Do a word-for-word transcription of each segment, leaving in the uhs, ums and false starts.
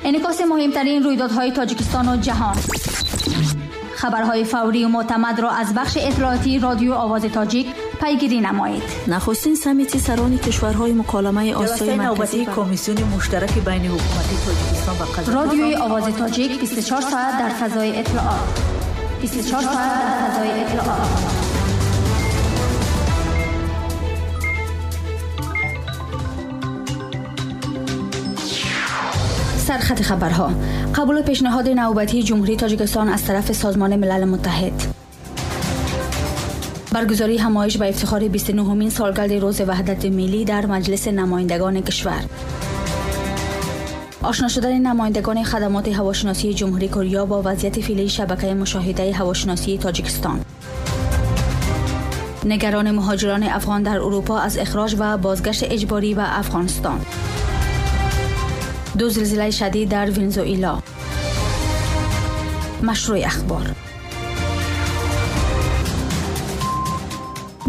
انعکاس مهمترین رویدادهای تاجیکستان و جهان. خبرهای فوری و معتمد را از بخش اطلاعاتی رادیو آواز تاجیک پیگیری نمایید. نخستین سمیتی سران کشورهای مکالمه آسیای مرکزی، کمیسیون مشترک بین حکومتی تاجیکستان و قزاقستان. رادیوی آواز تاجیک بیست و چهار ساعت در فضای اطلاعات. بیست و چهار ساعت در فضای اطلاعات. سرخط خبرها: قبول پیشنهاد نوبتی جمهوری تاجیکستان از طرف سازمان ملل متحد. برگزاری همایش به افتخار بیست و نهمین سالگرد روز وحدت ملی در مجلس نمایندگان کشور. آشنا شدن نمایندگان خدمات هواشناسی جمهوری کره با وضعیت فعلی شبکه مشاهده هواشناسی تاجیکستان. نگران مهاجران افغان در اروپا از اخراج و بازگشت اجباری به افغانستان. دو زلزله شدید در ونزوئلا. مشروع اخبار.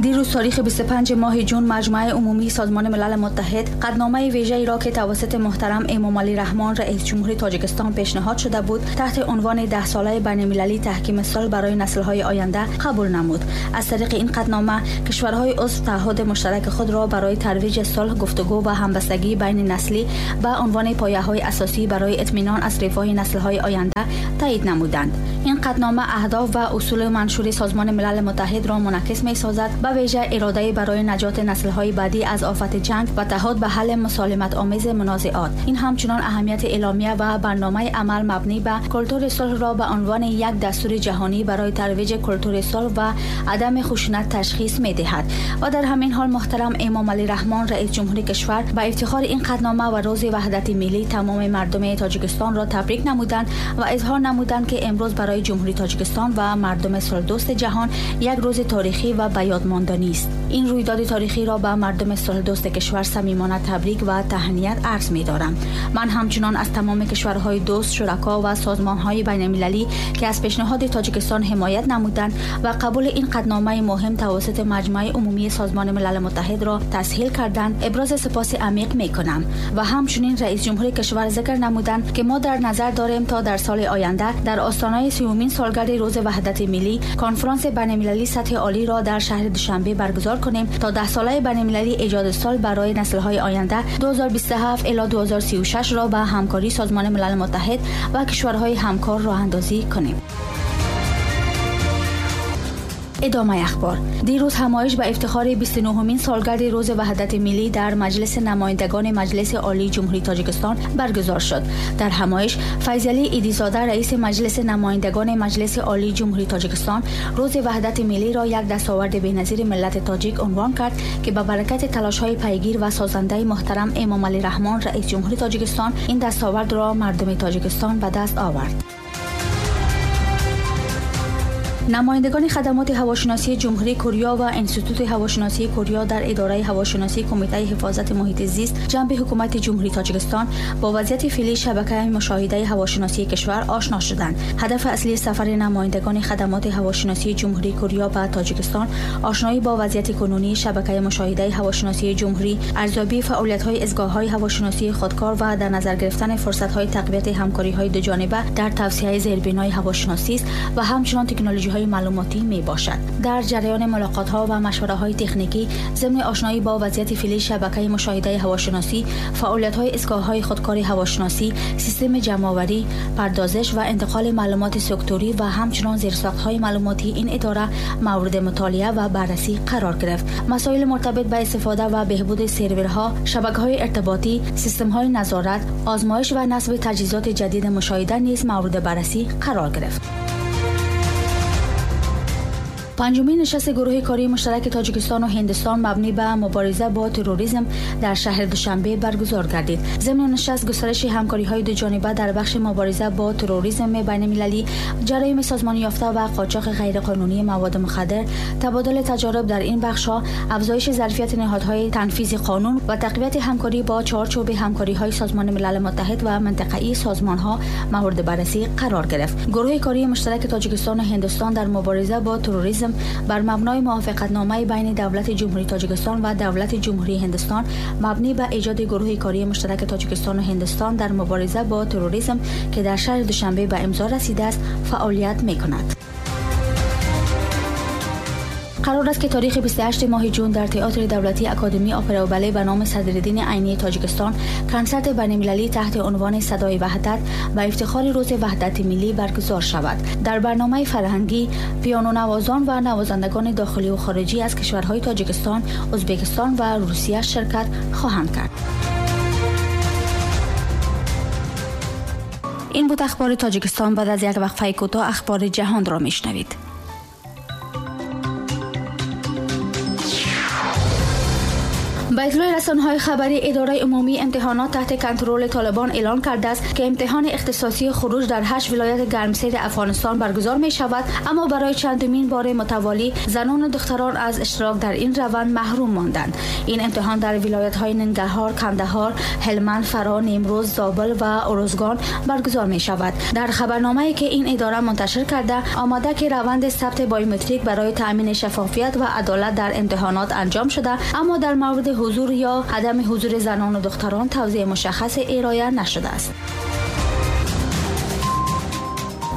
دیروز تاریخ بیست و پنجم ماه جون مجمع عمومی سازمان ملل متحد قدنامه ویژه‌ای را که توسط محترم امامعلی رحمان رئیس جمهوری تاجیکستان پیشنهاد شده بود تحت عنوان ده ساله بین‌المللی تحکیم صلح برای نسل‌های آینده قبول نمود. از طریق این قدنامه کشورهای عضو تعهد مشترک خود را برای ترویج صلح، گفتگو و همبستگی بین نسلی به عنوان پایه‌های اساسی برای اطمینان از رفاه نسل‌های آینده تایید نمودند. این قدنامه اهداف و اصول منشور سازمان ملل متحد را منعکس می‌سازد، به ویژه اراده برای نجات نسل‌های بعدی از آفت جنگ و تعهد به حل مسالمت‌آمیز منازعات. این همچنان اهمیت اعلامیه و برنامه عمل مبنی بر کلتور صلح را به عنوان یک دستور جهانی برای ترویج کلتور صلح و عدم خشونت تشخیص می‌دهد. و در همین حال محترم امامعلی رحمان رئیس جمهوری کشور به افتخار این قدنامه و روز وحدت ملی تمام مردم تاجیکستان را تبریک نمودند و اظهار نمودند که امروز برای جمهوری تاجیکستان و مردم صلح‌دوست جهان یک روز تاریخی و به یاد ماندنی است. این رویداد تاریخی را به مردم صلح‌دوست کشور صمیمانه تبریک و تهنیت عرض می‌دارم. من همچنان از تمام کشورهای دوست، شرکا و سازمان‌های بین‌المللی که از پیشنهاد تاجیکستان حمایت نمودند و قبول این قدنامه مهم توسط مجمع عمومی سازمان ملل متحد را تسهیل کردند، ابراز سپاس عمیق می‌کنم. و همچنین رئیس جمهور کشور ذکر نمودند که ما در نظر داریم تا در سال آینده در آستانه سومین سالگرد روز وحدت ملی کنفرانس بین‌المللی سطح عالی را در شهر دوشنبه برگزار کنیم تا ده ساله بین‌المللی ایجاد صلح برای نسل‌های آینده دو هزار و بیست و هفت الی دو هزار و سی و شش را به همکاری سازمان ملل متحد و کشورهای همکار راه اندازی کنیم. ادامه اخبار. دیروز همایش به افتخار بیست و نهمین سالگرد روز وحدت ملی در مجلس نمایندگان مجلس عالی جمهوری تاجیکستان برگزار شد. در همایش فیضعلی ایدیزاده رئیس مجلس نمایندگان مجلس عالی جمهوری تاجیکستان روز وحدت ملی را یک دستاورد بی‌نظیر ملت تاجیک عنوان کرد که به برکت تلاش‌های پیگیر و سازنده محترم امامعلی رحمان رئیس جمهوری تاجیکستان این دستاورد را مردم تاجیکستان به دست آورد. نمایندگان خدمات هواشناسی جمهوری کره و انستیتوت هواشناسی کره در اداره هواشناسی کمیته حفاظت محیط زیست جنب حکومت جمهوری تاجیکستان با وضعیت فعلی شبکه مشاهده هواشناسی کشور آشنا شدند. هدف اصلی سفر نمایندگان خدمات هواشناسی جمهوری کره به تاجیکستان آشنایی با وضعیت کنونی شبکه مشاهده هواشناسی جمهوری، ارزیابی فعالیت‌های ایستگاه‌های هواشناسی خودکار و در نظر گرفتن فرصت‌های تقویت همکاری‌های دوجانبه در توسعه زیربنای هواشناسی است و همچنین تکنولوژی‌های معلوماتی می باشد. در جریان ملاقات ها و مشوره های تکنیکی ضمن آشنایی با وضعیت فعلی شبکه مشاهده هواشناسی، فعالیت های ایستگاه های خودکار هواشناسی، سیستم جمع آوری، پردازش و انتقال معلومات سکتوری و همچنین زیرساخت های معلوماتی این اداره مورد مطالعه و بررسی قرار گرفت. مسائل مرتبط به استفاده و بهبود سرورها، شبکه های ارتباطی، سیستم های نظارت، آزمایش و نصب تجهیزات جدید مشاهده نیز مورد بررسی قرار گرفت. پنجمین نشست گروه کاری مشترک تاجیکستان و هندوستان مبنی به مبارزه با تروریسم در شهر دوشنبه برگزار گردید. ضمن نشست گسترش همکاری‌های دو جانبه در بخش مبارزه با تروریسم بین‌المللی، جرایم سازمان یافته و قاچاق غیرقانونی مواد مخدر، تبادل تجارب در این بخش‌ها، افزایش ظرفیت نهادهای تنفیذ قانون و تقویت همکاری با چارچوب همکاری‌های سازمان ملل متحد و منطقه‌ای سازمان‌ها مورد بررسی قرار گرفت. گروه کاری مشترک تاجیکستان و هندوستان در مبارزه با تروریسم تروریسم بر مبنای موافقتنامه بین دولت جمهوری تاجیکستان و دولت جمهوری هندوستان مبنی بر ایجاد گروه کاری مشترک تاجیکستان و هندوستان در مبارزه با تروریسم که در شهر دوشنبه به امضا رسیده است فعالیت می‌کند. قرار است که تاریخ بیست و هشت ماه جون در تئاتر دولتی اکادمی اپرا و باله به نام صدرالدین عینی تاجیکستان کنسرت بین‌المللی تحت عنوان صدای وحدت و افتخار روز وحدت ملی برگزار شود. در برنامه فرهنگی پیانو نوازان و نوازندگان داخلی و خارجی از کشورهای تاجیکستان، ازبکستان و روسیه شرکت خواهند کرد. این بود اخبار تاجیکستان. بعد از یک وقفه کوتاه اخبار جهان را میشنوید. با اطلاع رسانه‌های خبری، اداره عمومی امتحانات تحت کنترل طالبان اعلان کرده است که امتحان اختصاصی خروج در هشت ولایت گرمسیر افغانستان برگزار می شود، اما برای چندمین بار متوالی زنان و دختران از اشتراک در این روند محروم ماندند. این امتحان در ولایت‌های ننگرهار، کندهار، هلمند، فراه، نیمروز، زابل و ارزگان برگزار می شود. در خبرنامه‌ای که این اداره منتشر کرده آمده که روند ثبت بایومتریک برای تأمین شفافیت و عدالت در امتحانات انجام شده، اما در مورد حضور یا عدم حضور زنان و دختران توضیح مشخص ارائه نشده است.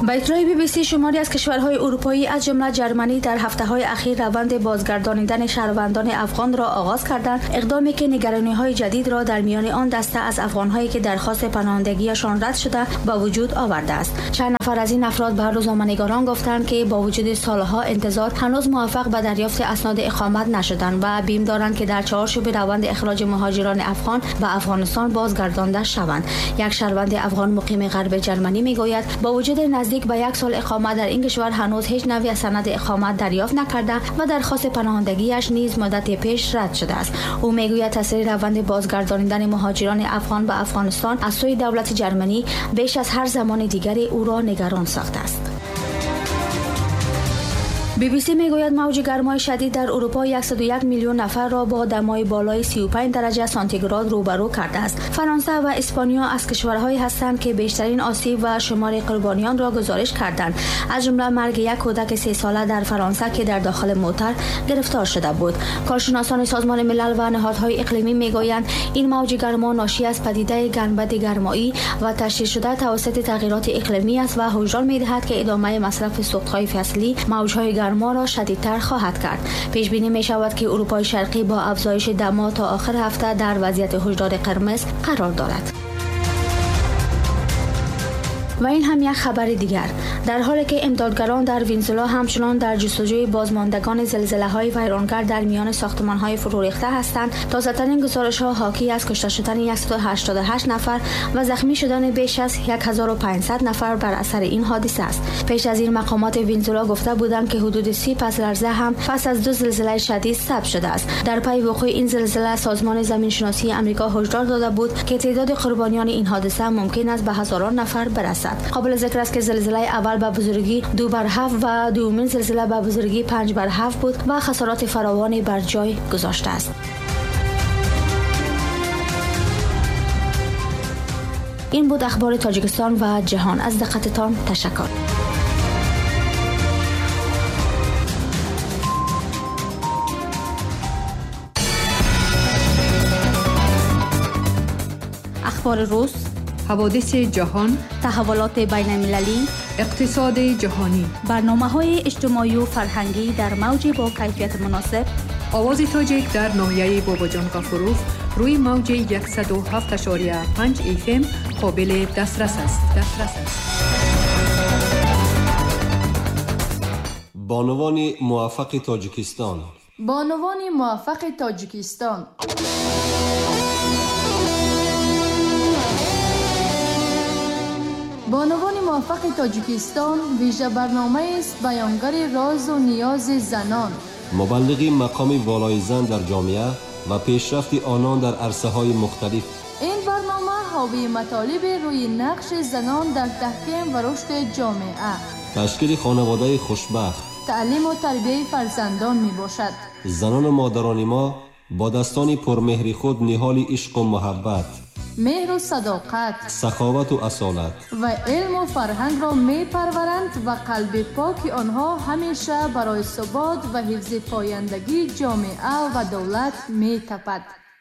با اطلاع بی بی سی، شماری از کشورهای اروپایی از جمله جرمنی در هفته‌های اخیر روند بازگردانیدن شهروندان افغان را آغاز کردند، اقدامی که نگرانی‌های جدید را در میان آن دسته از افغان‌هایی که درخواست پناهندگیشان رد شده به وجود آورده است. چند نفر از این افراد به روزنامه‌نگاران گفتند که با وجود سالها انتظار هنوز موفق به دریافت اسناد اقامت نشدند و بیم دارند که در چارچوب روند اخراج مهاجران افغان به افغانستان بازگردانده شوند. یک شهروند افغان مقیم غرب جرمنی می‌گوید با وجود نزدیک به یک سال اقامت در این کشور هنوز هیچ نوع سند اقامت دریافت نکرده و درخواست پناهندگیش نیز مدت پیش رد شده است. او میگوید تاثیر روند بازگرداندن مهاجران افغان به افغانستان از سوی دولت جرمنی بیش از هر زمان دیگری او را نگران ساخته است. بی بی سی میگوید موج گرمای شدید در اروپا صد و یک میلیون نفر را با دمای بالای سی و پنج درجه سانتیگراد روبرو کرده است. فرانسه و اسپانیا از کشورهایی هستند که بیشترین آسیب و شمار قربانیان را گزارش کردند، از جمله مرگ یک کودک سه ساله در فرانسه که در داخل موتر گرفتار شده بود. کارشناسان سازمان ملل و نهادهای اقلیمی میگویند این موج گرما ناشی از پدیده گنبد گرمایی و تشدید شده توسط تغییرات اقلیمی است و هشدار میدهد که ادامه مصرف سوختهای فصلی موجهای گرما را شدیدتر خواهد کرد. پیش بینی می شود که اروپای شرقی با افزایش دما تا آخر هفته در وضعیت هشدار قرمز قرار دارد. و این هم یک خبر دیگر. در حالی که امدادگران در ونزوئلا همچنان در جستجوی بازماندگان زلزله‌های ویرانگر در میان ساختمان‌های فرو ریخته هستند، تازه‌ترین گزارش‌ها حاکی از کشته شدن صد و هشتاد و هشت نفر و زخمی شدن بیش از هزار و پانصد نفر بر اثر این حادثه است. پیش از این مقامات ونزوئلا گفته بودند که حدود سی پس لرزه هم پس از دو زلزله شدید ثبت شده است. در پی وقوع این زلزله سازمان زمینشناسی آمریکا هشدار داده بود که تعداد قربانیان این حادثه ممکن است به هزاران نفر برسد. قابل ذکر است که زلزله اول به بزرگی دو بر هفت و دومین زلزله به بزرگی پنج بر هفت بود و خسارات فراوانی بر جای گذاشته است. این بود اخبار تاجیکستان و جهان. از دقتتان تشکر. اخبار روز، حوادث جهان، تحولات بین المللی، اقتصاد جهانی، برنامه‌های اجتماعی و فرهنگی در موج با کیفیت مناسب. آواز تاجیک در ناحیه باباجان غفوروف روی موج صد و هفت ممیز پنج اف ام قابل دسترس است. دسترس است. بانوان موفق تاجیکستان. بانوان موفق تاجیکستان. بانوان موفق تاجیکستان ویژه برنامه است بیانگر راز و نیاز زنان، مبلغ مقام والای زن در جامعه و پیشرفت آنان در عرصه های مختلف. این برنامه حاوی مطالب روی نقش زنان در تحکیم و رشد جامعه، تشکیل خانواده خوشبخت، تعلیم و تربیه فرزندان می باشد. زنان و مادران ما با دستان پرمهر خود نهال عشق و محبت، меҳру садоқат, саховату асолат ва илму фарҳангро мепарваранд ва қалби поки онҳо ҳамеша барои субот ва ҳифзи пояндагии ҷомеа ва давлат метапад.